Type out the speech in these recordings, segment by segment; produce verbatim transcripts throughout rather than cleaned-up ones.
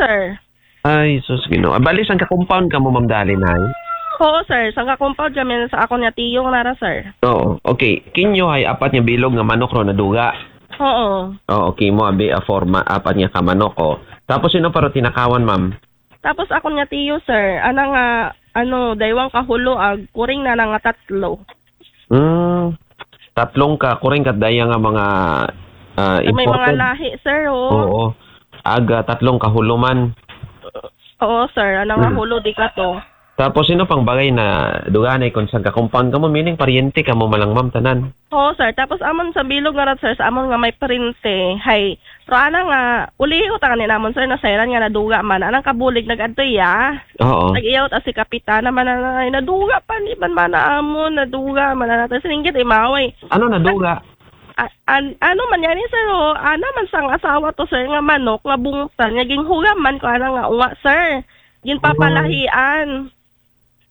sir. Ay, sus, Ginoo. Ah, bali, sangka compound kamo, Ma'am Dalin, hay? Oo, sir. Sangka compound kami sa akon nga tiyo nga nara, sir. Oo. Okay. Kinyo hay apat nga bilog nga manok ro naduga. Oo. Oo, okay mo, abi, ah, forma, apat nga ka manok, oh. Tapos, sino pa ro tinakawan, ma'am? Tapos, akon nga tiyo, sir, ana nga, ano, daywang ka hulo, ag kuring na nga tatlo. Hmm. Tatlong ka, kuring kat daya nga mga, ah, May mga imported. Lahi, sir, oh. Oo. Aga, tatlong ka hulo man. Oo, sir. Ana nga Hmm. hulo, di kato. Tapos, sino pang bagay na duganay kung sangka compound kamo? Meaning, paryente kamo man lang, ma'am, tanan? Oo, sir. Tapos, amon sa bilog nga rat, sir, sa amon nga may paryente, hay, pero ana nga, ulihi ko tangan ni namon, sir, nasayran nga naduga man. Anang kabulig, nag-adto iya. Oo. Nag-iyaw ta si Kapitana man, na, na, naduga pa ni man, man, amon, naduga man, na, natin, singgit, imaway. Ano naduga? A-, an-, ano man yan, eh, sir, oh, ana man sang asawa to, sir, nga manok, nga bungtan, nga ginhugaman ko, ana nga, unga, sir. Ginpapalahian.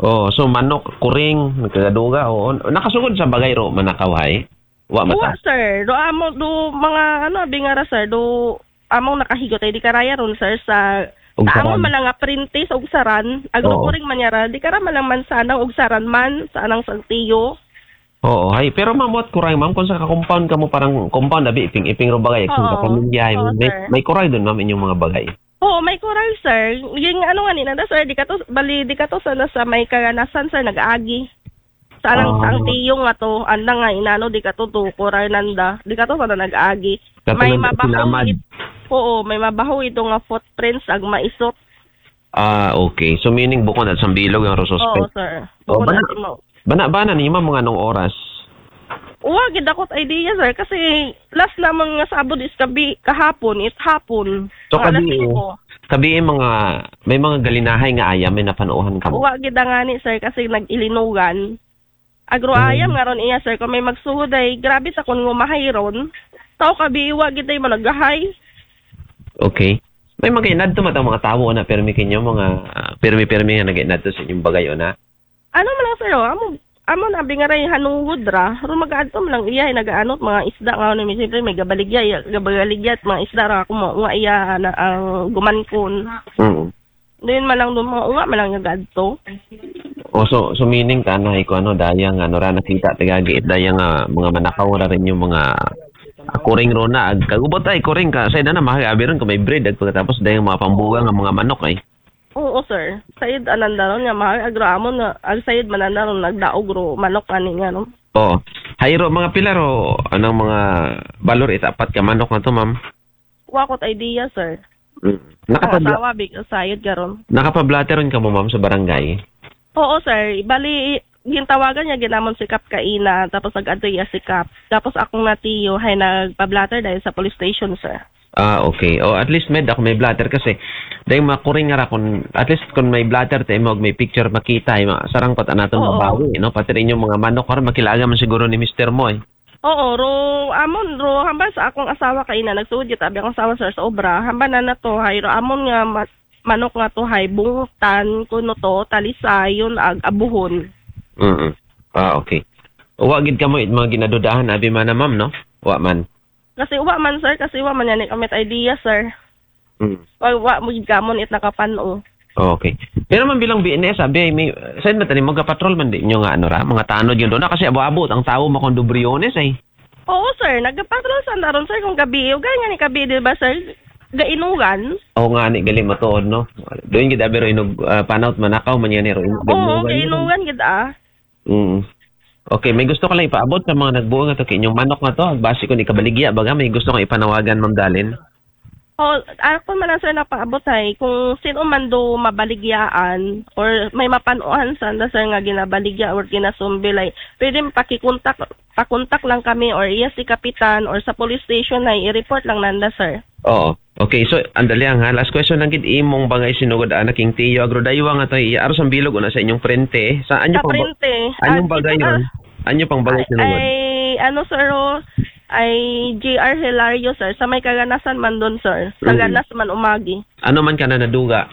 Oh, so manok, kuring, nagkagaduga, oo. Nakasugod sa bagay ro, manakaw, hay? Wa mata? Wa, sir. Do amo, do mga, ano, bingara, sir, do among nakahigot ay di karaya ron, sir, sa Ugsaran. Amo man lang nga printis, ugsaran, agro Oo. kuring manyara, di kara man lang man sanang ugsaran man, sa anang sangtiyo. Oo, hay. Pero ma'am, what kuray, ma'am, kung sa ka-compound kamo, parang compound, abi, iping-iping ro bagay, kung Oo. sa pamilya, Oo, may, sir. May kuray dun, ma'am, inyong mga bagay? Oo, may kuray, sir. Yung ano nga ni nanda, sir, di ka to, bali, di ka to sana sa may kaganasan, sir, nag-aagi. Sa anang, Ah. Ang tiyo nga to, anda nga inano, di ka to, to, kuray nanda. Di ka to sana nag-aagi. Kato May nanda mabaho sinamad. it-, oo, may mabaho ito nga footprints, ag maisot. Ah, okay. So, meaning, bukod at sambilog ang ro suspect? Oo, sir. Oh, Bukod bana-, at mo. Bana-bana ni, ma'am, mga anong oras? Wa gid akot idea, sir, kasi last naman nga sabod is kabi-, kahapon, it hapon. So, Mga alas kabi-, singko. Kabi-, mga, may mga galinahay nga ayam, may napanuuhan ka mo? Wa gid ngani, sir, kasi nag-ilinugan. Agro Mm. ayam nga ron iya, sir, kung may magsugod ay, grabe sa kun ngumahay ron. Tao kabi-, wa gid ay managahay. Okay. May mga inadto matang mga tawo na, permi kinyo, mga, ah, permi-permi nga nag-inadto sa inyong bagay, o na? Ano man lang, sir, oh? Amo, amo na, bingaray hanungod ra. Ro mag-adto man lang iya, nagaanot mga isda nga, ano, siyempre, may gabaligya, iya, gabaligya at mga isda ra, ako mo, nga iya, na, ang gumankon. Mm. Doon man lang, doon mga unga man lang nag-adto. Oh, so, so meaning ka, ano, iko, ano, daya nga, ano, ra, nakita, tagagi, daya nga, mga manakaw ra rin yung mga, ah, kuring ro na, ag, kagubot ay, kuring ka, sa na, mahal, abi ron, kung may breed, ag pagkatapos, daya nga mga pambuga nga mga manok, ay. Oo, sir. Sayod ananda ron nga mahal, agro amon nga, ag sayod mananda ron, nagdaog ro, manok, ani nga, no? Oo. Hayro, mga pila ro, anong mga balor itapat ka manok na to, ma'am? Wa ko't idea, sir. Mm. Ang Nakapabla-, asawa, big, sayod ka ron. Nakapablatter ron ka mo, ma'am, sa barangay? Oo, sir. Bali, gintawagan niya, ginamon si Kap kaina, tapos nag-adto iya si Kap. Tapos akong natiyo, hay nagpa-blotter dahil sa police station, sir. Ah, okay. O, at least, med, ako may blotter kasi, dahil makuring nga ra kung, at least kung may blotter, tayo mo, may picture makita, ay ma-, sarang pat anaton Oo. Mabawi, no? Pati rin yung mga manok, karon makilaga man siguro ni mister mo, eh. Oo, ro, amon, ro, hambal sa akong asawa kaina, nagsuod kita, abi akong asawa, sir, sa obra, hambal na nato, hay, ro, amon nga ma-, manok nga to, hay, bungtan, kuno to, talisayon, ag abuhon. Mm. Ah, okay. Wa gid ka mo, it mga ginadudahan, abi man na, ma'am, no? Wa man. Kasi wa man, sir, kasi wa man yan, eh, kamit idea, sir. Mm. Wa, wa, mo gid kamon it nakapan-o. Okay. Pero man bilang B N S, abi, ay may, saan man tani, magapatrol man di nyo nga, ano ra, mga tanod yun doon. Kasi abo-abo, ang tao, makondobriones, ay. Oo, sir. Nagpatrol sa naron, sir, kung gabi. O, gaya nga ni gabi, di ba, sir? Gainugan. Oo nga, ni gali matuod, no? Doon gid, abi, ro, inug-, ah, panaut manakaw, man yan, ro, inug-, Oo, gainugan, gainugan, gid, ah. Mm. Okay, may gusto ka lang ipaabot sa mga nagbuo nga to, kay inyong manok nga to, base ko ni kabaligya, baga, may gusto kang ipanawagan, Ma'am Dalin? Oh, ako man lang, sir, napaabot ay, kung sino man do mabaligyaan or may mapanuhan sa anda, sir, nga ginabaligya or ginasumbil ay, pwede pakikontak, pakontak lang kami or iya si Kapitan or sa police station ay i-report lang nanda, sir. Oo. Okay, so, andali lang ha. Last question lang gid, imong bagay sinugod, anak, king tiyo, agro daywa nga to, iya, aros ang bilog una sa inyong prente. Sa anyo Sa pang ba-, prente. Anyong Ah, bagay ito, yun? ah, Anyo pang bagay ay, sinugod? Ay, ano, sir, oh, ay J R Hilario, sir. Sa may kaganasan man doon, sir. Sa Mm. Ganas man umagi. Ano man ka na naduga?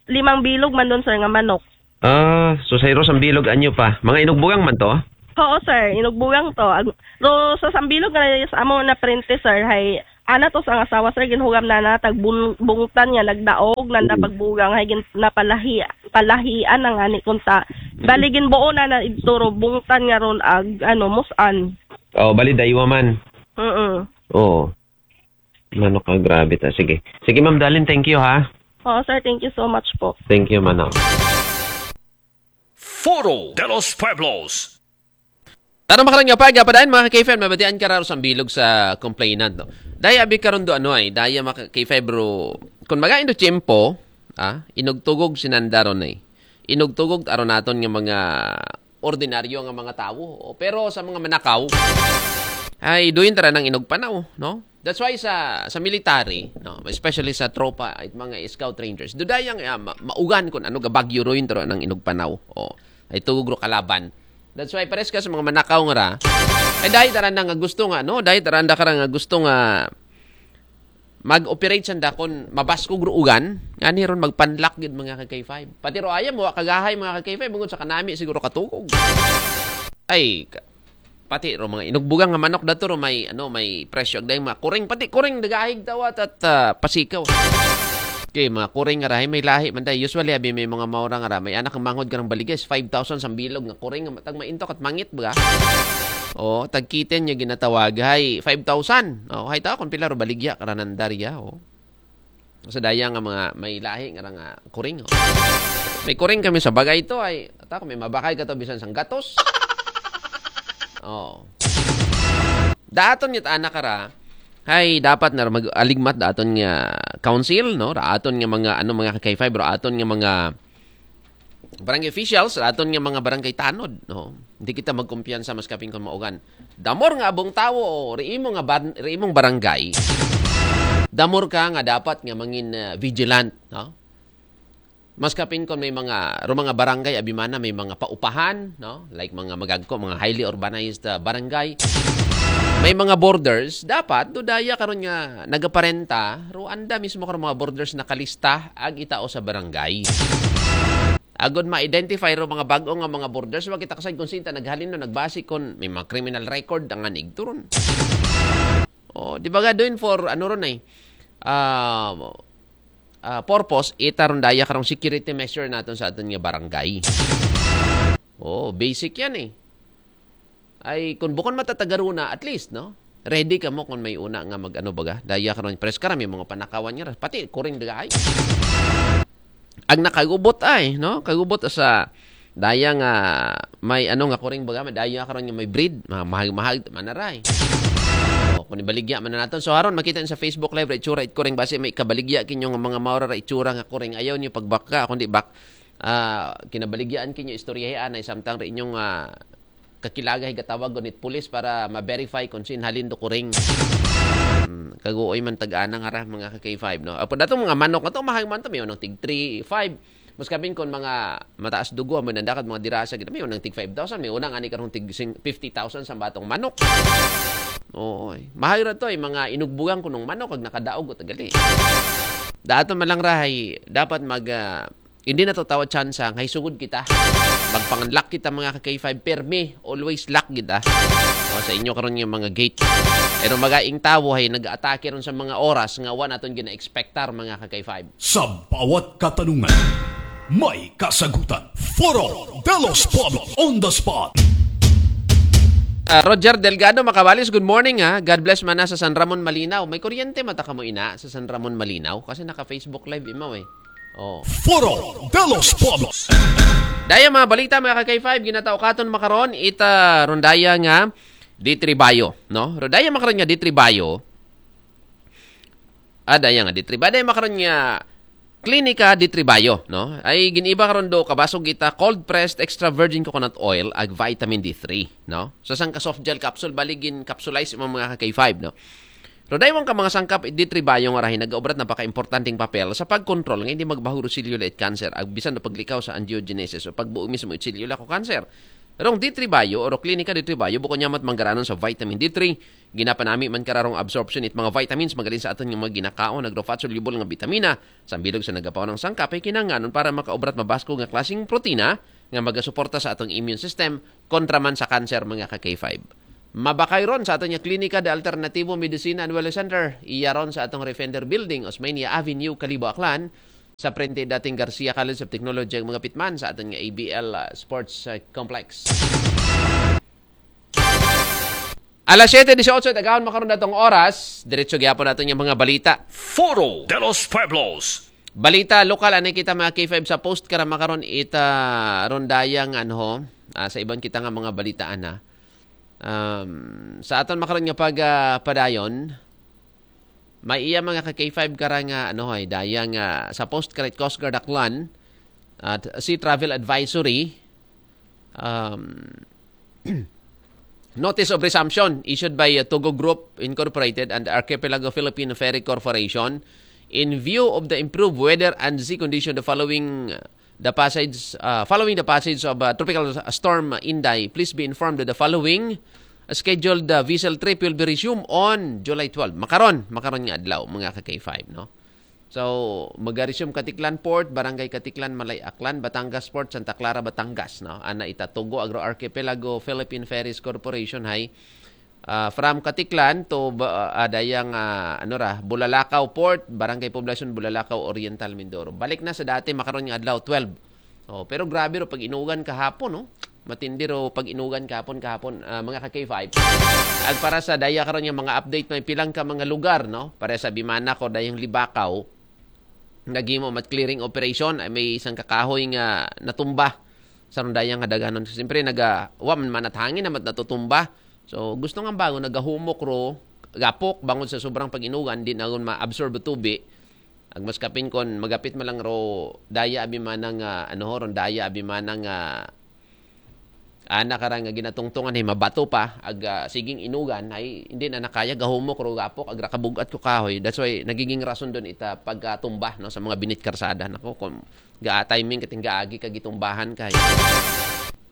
Limang bilog man doon, sir, nga manok. Ah, so sa iros ang bilog, anyo pa? Mga inugbugang man to? Oo, sir. Inugbugang to. Ag-, ro, sa sambilog nga sa amo na prente, sir, hay Ana to sa asawa, sir, ginhugam na na, tag bun-, bungtan nga nagdaog, nanda Mm. pagbugang, hay gin-, napalahi-, palahian na nga ni kunta. Mm. Bali, ginbuo na na idto ro, bungtan nga ron ag, ano, musan. Oh, bali, daywa man. Mm-mm. Oo. Manok ka, grabe ta. Sige. Sige, Ma'am Darlene, thank you, ha? Oo, sir, thank you so much po. Thank you, Manok. Foro de los Pueblos. Tara, makalang nga pag, padayon, mga ka-K five, mabatian ka raro sa bilog sa complainant, no? Daya abi karon do, ano ay, daya, mga ka-K five, bro. Kung magain do tiyempo, ah, inugtugog sinanda ron ay. Inugtugog aron naton nga mga ordinaryo nga mga tawo. O, pero sa mga manakaw, ay duyon tara nang inugpanaw, no? That's why sa, sa military, no, especially sa tropa at mga scout rangers, dudayang, ah, ma-, maugan kung ano gabagyo ron, tara nang inugpanaw. O, ay tugog ro kalaban. That's why pares ka sa mga manakaw nga ra, ay dahil tara na nga gusto nga, no? Dahil tara na ka ra nga gusto nga mag-operate sanda kon mabaskog ro ugan, nga ni ron magpanlak gid, mga ka-K five. Pati ro ayam, wa kagahay, mga ka-K five, bungod sa kanami siguro katugog. Ay, ka-, pati ro mga inugbugang nga manok dato ro may, ano, may presyo agday mga kuring, pati kuring dagahig tawat at, ah, pasikaw. Okay, mga kuring nga rahay may lahi man day. Usually, abi may mga maura nga ra, may anak ang manghod ka ng baligis, five thousand sa bilog nga kuring, nga tag maintok at mangit, baga? O, tag kitten niya ginatawag, hay, five thousand. O, hay tao, kung pila ro baligya, karanandarya, o. Sa daya nga mga may lahi nga ra nga kuring, o. May kuring kami sa bagay to, ay, ata ko, may mabakay ka to, bisan sang gatos. O. Daton niya ta anak ka ra, hay, dapat na mag-aligmat daton nga council, no? Raaton nga mga, ano, mga ka-K five, raaton nga mga barangay officials, raaton nga mga barangay tanod, no? Hindi kita magkumpiyansa mas kapin kung maugan. Damor nga abong tawo, o riimo nga bar-, riimong barangay, damor ka nga dapat nga mangin, ah, vigilant, no? Mas kapin kung may mga, ro mga barangay, abimana, may mga paupahan, no? Like mga magagko, mga highly urbanized, ah, barangay. May mga borders, dapat, dudaya karon nga nagaparenta, ro anda mismo karon mga borders nakalista, ag itao sa barangay. Agod ma-identify ro mga bag-o nga mga borders, wa kita kasay kung sinta naghalin no, nagbase kon may mga criminal record ang anig turon. O, di ba ga doon for, ano ron ay, ah, ah, purpose, ita ron daya karong security measure naton sa aton nga barangay. O, basic yan eh. Ay, kung bukon matatagaruna, at least, no? Ready ka mo kung may una nga mag-ano baga. Daya karon, pres ka ra, may mga panakawan nga ra. Pati, kuring daga ay. Ang nakagubot ay, no? Kagubot sa daya nga may ano nga kuring baga, may daya karon nga may breed, ma-, mahag-mahag, manaray. O, kung ibaligya man na naton. So, haron, makita niyo sa Facebook Live, ra itsura, it kuring base, may kabaligya kinyo nga mga maura, ra itsura nga kuring. Ayaw niyo pagbaka, kundi bak-, ah, kinabaligyaan kinyo istoryahan ay samtang ra inyong, ah, kakilaga higatawag gunit pulis para ma-verify kung sin halin do kuring. Hmm, kaguoy man tag-ana nga ra, mga ka-K five, no? Apo datong mga manok na to, mahal man to, may unang tig three five. Mas kapin kon mga mataas dugo, may nandakat mga dirasa, gid, may unang tig five thousand, may unang ani karong tig sing-, fifty thousand sa batong manok. Oy, mahal ra to, ay mga inugbugang kunong manok, ag nakadaog, o tagali. Dato man lang rahay, dapat mag, ah, hindi na to tawad chance, ha? Ngay sugod kita. Magpanganlak kita, mga ka-K five. Permi. Always lock kita. O, sa inyo karon nga mga gate. Pero magaing tawo, hay, nag-atake ron sa mga oras nga wa naton gina-expectar, mga ka-K five. Sa bawat katanungan, may kasagutan. Foro de los Pueblos on the spot. Ah, Roger Delgado Macabalis, good morning, ha. God bless man na sa San Ramon Malinaw. May kuryente mata ka mo ina sa San Ramon Malinaw kasi naka-Facebook Live imaw eh. Oh. Foro de los Pueblos. Daya mga balita, mga ka-K five, ginatao katon makaron, ita rondaya nga Ditribayo, no? Rondaya makaron nga Ditribayo. Ah, daya nga Ditribayo. Daya makaron nga Klinika Ditribayo, no? Ay giniba karon do kabasog ita cold pressed extra virgin coconut oil ag vitamin D three, no? Sa sangka soft gel capsule, bali gin-capsulize mo mga ka-K five, no? Pero daywang ka mga sangkap, D three Bio nga rahi nagaobrat napaka-importanteng papel sa pagkontrol nga hindi magbaho ro selula it cancer, ag bisan na paglikaw sa angiogenesis o pagbuo mismo it selula ko cancer. Rong D three Bio o ro klinika D three Bio, bukon niya mat manggaranon sa vitamin D three, ginapanami man kararong absorption it mga vitamins, magalin sa aton nga mga ginakaon, nagro-fat soluble nga bitamina, sambilog sa nagapaw ng sangkap ay kinanganon para makaobrat mabasko nga klaseng protina nga magasuporta sa atong immune system kontra man sa cancer, mga ka-K five. Mabakay ron sa aton nga Klinika de Alternativo Medicina and Wellness Center. Iya ron sa atong Refender Building, Osmeña Avenue, Kalibo, Aklan, sa frente dating Garcia College of Technology, ug magapit man sa aton nga A B L, ah, Sports, ah, Complex. Alas siyete dieciocho, tagahon makaron datong oras. Diretso gyapon nato yung mga balita. Foro de los Pueblos. Balita lokal, anay kita mga K five sa post karama karon ita ron dayang ano, ah, sa iban kita nga mga balita ana. Um, sa aton makaron nga pag, ah, padayon, may iya mga ka K five kara nga ano ay dayang, ah, sa post karit Coast Guard Aklan at Sea Travel Advisory, um, notice of resumption issued by, uh, Tugo Group Incorporated and Archipelago Philippine Ferry Corporation in view of the improved weather and sea condition the following, uh, the passage uh, following the passage of, uh, Tropical Storm Inday. Please be informed that the following scheduled, uh, vessel trip will be resumed on July twelve. Makaron, makaron nga adlaw, mga ka K five, no? So, mag-resume Katiklan Port, Barangay Katiklan, Malay Aklan, Batangas Port, Santa Clara, Batangas, no? Ana ita Tugo Agro Archipelago Philippine Ferries Corporation hay, ah, from Katiklan to ba, ah, dayang, ah, ano ra, Bulalakaw Port, Barangay Poblacion, Bulalakaw Oriental, Mindoro. Balik na sa dati makaron nga adlaw, twelve. Oh, pero grabe ro pag-inugan kahapon, no? Matindi ro pag-inugan kahapon, kahapon, ah, mga ka K five. At para sa daya karon nga mga update, may pilang ka mga lugar, no? Para sa Bimana ko dayang Libakaw, naghimo mat clearing operation, ay may isang kakahoy nga natumba sa rong dayang nga daganon. Siyempre, naga, wa man manat hangin namat natutumba. So, gusto nga bago, nagahumok ro, gapok, bangod sa sobrang pag-inugan, di na ron ma-absorb tubi. Ag mas kapin kon magapit man lang ro, daya abi manang, ah, ano ho, ron daya abi manang, ah, ana kara nga ginatungtungan, hi mabato pa, ag, ah, siging inugan, ay hindi na nakaya, gahumok ro, gapok, agra kabugat ko kahoy. That's why nagiging rason doon ita pagkatumba, no, sa mga binit karsada. Nako, kung ga timing kating gaagi ka gitumbahan kay.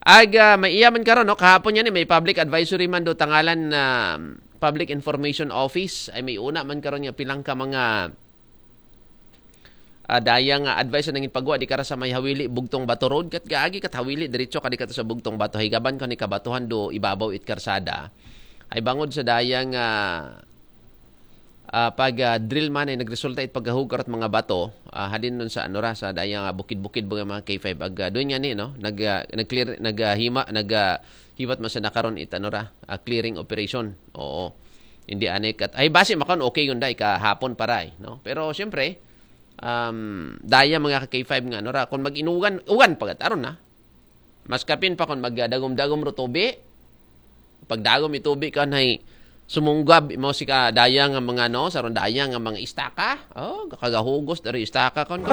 Ag, ah, may iya man karon, no, kahapon yan, eh, may public advisory man do tangalan na Public Information Office, ay may una man karon nga pilang ka mga, ah, daya nga advice na nangin pagwa di kara sa may Hawili, Bugtong Bato Road, kat gaagi kat Hawili, diretso ka di ka to sa Bugtong Bato, higaban ka ni kabatuhan do ibabaw it karsada. Ay bangod sa daya nga, ah, pag, ah, drill man ay nagresulta it paggahug karot mga bato, ah, hadin nun sa ano ra, sa daya nga bukid-bukid mga, mga K five. Ag, ah, doon nga ni, no? Nag, ah, nag-clear, nag, ah, hima, nag, ah, hiwat man sa nakaron it ano ra, ah, clearing operation. Oo. Hindi anay kat. Ay, base makon okay yun dai kahapon paray, no? Pero siyempre, um, daya mga ka K five nga, no, ra, kung mag-inugan, ugan pagat, aron na. Mas kapin pa kung magdagom-dagom ro tubi. Pagdagom itubi ka na sumunggab mo si ka daya nga mga, no, sa ron daya nga mga istaka. Oh, kakagahugos dari istaka kon.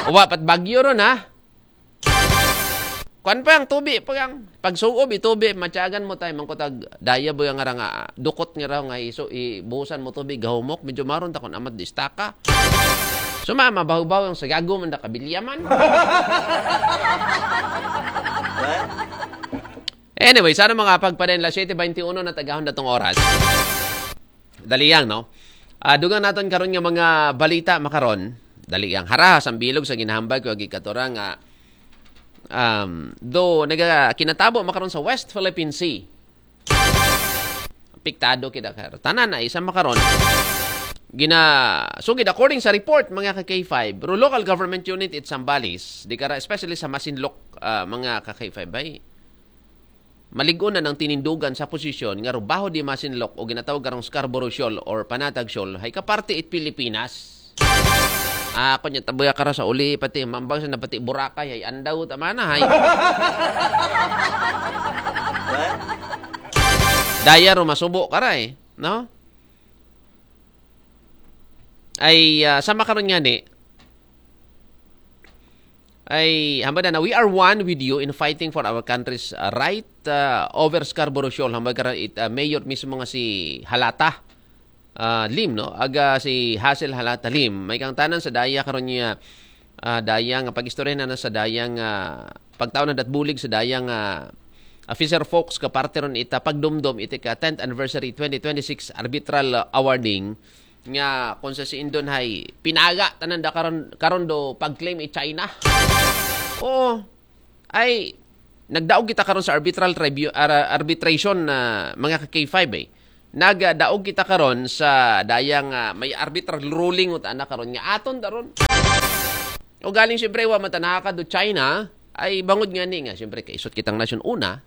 Uwa, pat bagyo ron, ha? Kuan pa ang tubi, pag ang pagsuob itubi, matyagan mo tayo, mangkutag daya ba nga ra nga, dukot nga ra nga iso, ibuhusan mo tubi, gahumok, medyo maron ta kung amat distaka. Sumama, bahubaw ang sagago man da kabilyaman. Anyway, sana mga pagpadayon la siyete baynte uno na tagahon datong oras. Dali yang, no? Ah, dugang naton karon nga mga balita makaron. Dali yang haraha sa bilog sa ginahambag ko agi katura nga, um, do naga kinatabo makaron sa West Philippine Sea. Apektado kita kar. Tanan na isa makaron. Gina sugid according sa report mga ka K five, pero local government unit it Zambales, di kara especially sa Masinloc, ah, mga ka K five ay malig-on na ng tinindugan sa posisyon nga rubaho di Masinloc o ginatawag karong Scarborough Shoal or Panatag Shoal hay kaparte it Pilipinas. Ah, ako niya tabuya kara sa uli pati mambang sa napati Boracay hay andaw tamana hay. Daya ro masubo kara eh, no? Ay, ah, sama karon nga ni, ay, hambada na, "We are one with you in fighting for our country's, uh, right, uh, over Scarborough Shoal." Hambada karon it, uh, mayor mismo nga si Halata, uh, Lim, no? Aga si Hazel Halata Lim. May kang tanan sa daya karon niya, uh, daya nga pag-istorya na, na sa daya nga pagtaon na datbulig sa daya nga, uh, fisher folks ka parte ron ita pagdumdom iti ka tenth anniversary twenty twenty-six arbitral, uh, awarding nga kung sa si Indon hay pinaga tanan da karon, karon do pag-claim i China. Oo. Ay, Nagdaog kita karon sa arbitral tribunal, arbitration na, mga ka K five, eh. Nagdaog kita karon sa dayang, ah, may arbitral ruling uta na karon nga aton daron. O galing, siyempre, wa man ta nakakado China, ay bangod nga ni nga, siyempre, kaisot kitang nasyon una,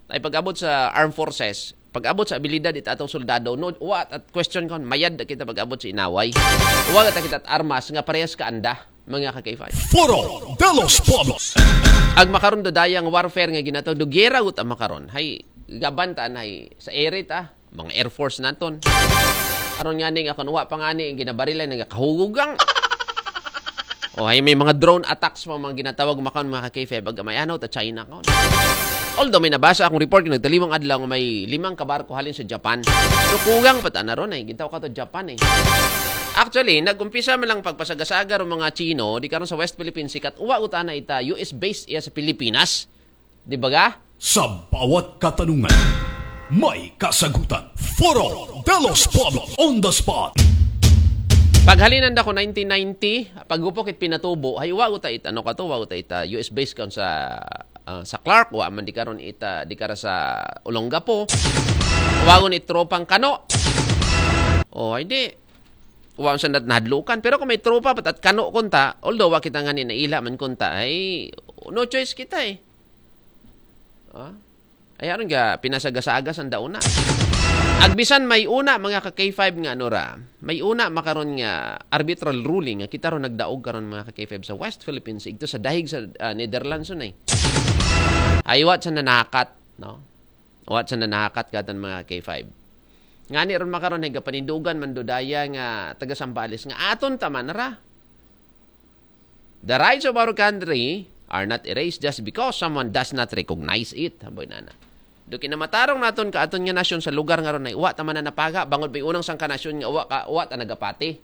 ay pag-abot sa armed forces, pag-abot sa abilidad it atong soldado, no, wa at question kon mayad na kita pag-abot sa inaway. Wa ta kita armas nga parehas ka anda, mga ka K five. Foro de los Pueblos. Ang makaron do dayang warfare nga ginatawag do gera uta makaron. Hay, gaban ta na hay sa ere ta, mga air force naton. Aron nga ning akon wa pa nga ni ginabarilay nga kahugugang. O hay may mga drone attacks pa mga ginatawag makaon, mga ka K five, baga may ano ta China kaon. Although may nabasa akong report nga nagtalimang adlaw nga may limang kabarko halin sa Japan. So kugang pa ta na ron ay gintaw ka to Japan eh. Actually, nag-umpisa man lang pagpasagasaga ron mga Chino di karon sa West Philippine Sea, kat uwa uta na ita U S base iya sa Pilipinas. Di ba ga? Sa bawat katanungan, may kasagutan. Foro de los Pueblos on the spot. Paghalinan da ko nineteen ninety, pagupok it pinatubo, hay wa uta it ano ka to, wa uta ita U S base kaon sa, ah, sa Clark, wa man di karon ita di kara sa Olongapo. Wagon it tropang kano. O, ay di. Wa sa nat nahadlukan. Pero kung may tropa pat at kano kunta, although wa kita nga ni naila man kunta, ay no choice kita eh. Ah? Ay aron nga pinasagasagas ang dauna. Agbisan may una mga ka K five nga ano ra, may una makaron nga arbitral ruling nga kita ron nagdaog karon mga ka K five sa West Philippine Sea, igto sa dahig sa, ah, Netherlands, yun eh. Ay, wa sa nanakat, no? Wa sa nanakat katan mga K five. Ngani ron makaron, higa panindugan man dudaya nga taga Sambales nga aton taman ra. The rights of our country are not erased just because someone does not recognize it. Hamboy nana. Do kinamatarong naton ka aton nga nasyon sa lugar nga ron ay wa ta man na napaga, bangod may unang sangka nasyon nga wa ka, wa ta nagapati.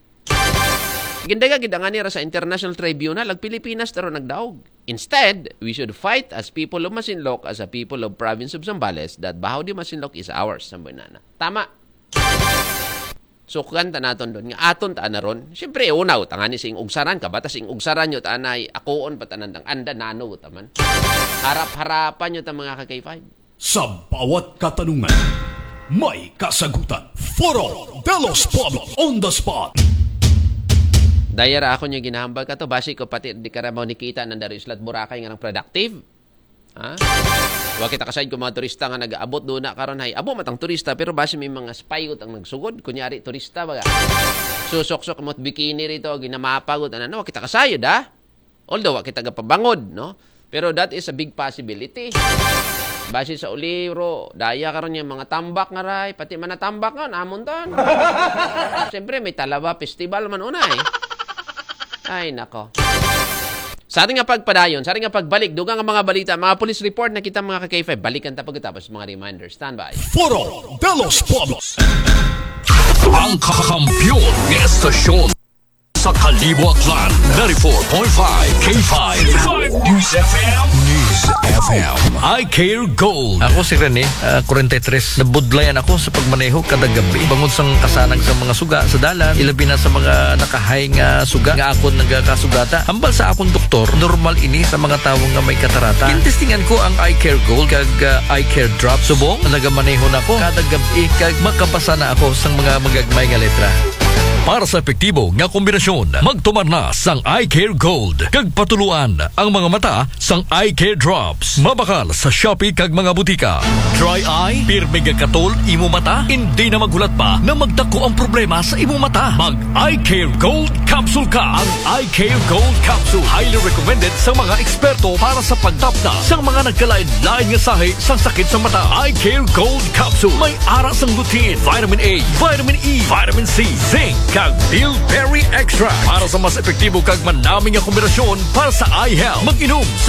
Gindaga gid ang ani ra sa International Tribunal, ag Pilipinas ta ron nagdaog. Instead, we should fight as people of Masinloc, as a people of province of Zambales, that Baho de Masinloc is ours. Hamboy nana. Tama. Sukgan ta naton doon nga aton ta na ron. Siyempre, una, utangan ni sing ugsaran, kabata sing ugsaran nyo, tanay, akuon, patanan dang anda, nano, taman. Harap-harapan nyo ta mga ka K five. Sa bawat katanungan, may kasagutan. Foro de los Pueblos on the spot. Daya ra ako nyo ginahambal ka to, basi ko pati di ka ra mo nikita ng dari islat Boracay nga ng productive. Ha? Wa kita kasayod kung mga turista nga nag-aabot doon na karon hay. Abo matang turista pero basi may mga spy ang nagsugod. Kunyari turista baga. Susoksok mo't bikini rito, ginamapagot ano, wa kita kasayod ha. Although wa kita gapabangod, no? Pero that is a big possibility. Basi sa uliro, daya karon yung mga tambak nga ray, pati man na tambak nga, namon ton. Siyempre, may Talaba Festival man una eh. Ay, nako. Sa ating nga pagpadayon, sa ating nga pagbalik, dugang ang mga balita, mga police report na kita mga ka-K five, balikan ta pagkatapos mga reminder. Standby. Foro de los Pueblos. Ang kakampiyon ng estasyon sa Kalibo Aklan, ninety-four point five K five. News F M. News F M. I Care Gold. Ako si Rene, ah, forty-three. Nabudlayan ako sa pagmaneho kada gabi. Bangod sang kasanag sa mga suga sa dalan, ilabi na sa mga nakahay nga suga nga akon nagakasugata. Hambal sa akon doktor, normal ini sa mga tawo nga may katarata. Gintestingan ko ang Eye Care Gold kag, ah, Eye Care Drop. Subong, nagamaneho na ko kada gabi kag makabasa na ako sang mga magagmay nga letra. Para sa epektibo nga kombinasyon, magtumar na sang Eye Care Gold kag patuluan ang mga mata sang Eye Care Drops. Mabakal sa Shopee kag mga butika. Dry eye, pirmi nga katol imo mata, hindi na maghulat pa na magdako ang problema sa imo mata. Mag Eye Care Gold Capsule ka. Ang Eye Care Gold Capsule highly recommended sa mga eksperto para sa pagtapna sa mga nagkalain-lain nga sahi sa sakit sa mata. Eye Care Gold Capsule may ara sang lutein, vitamin A, vitamin E, vitamin C, zinc, kag bilberry extract para sa mas epektibo kag manami nga kombinasyon para sa eye health. Mag-inom sa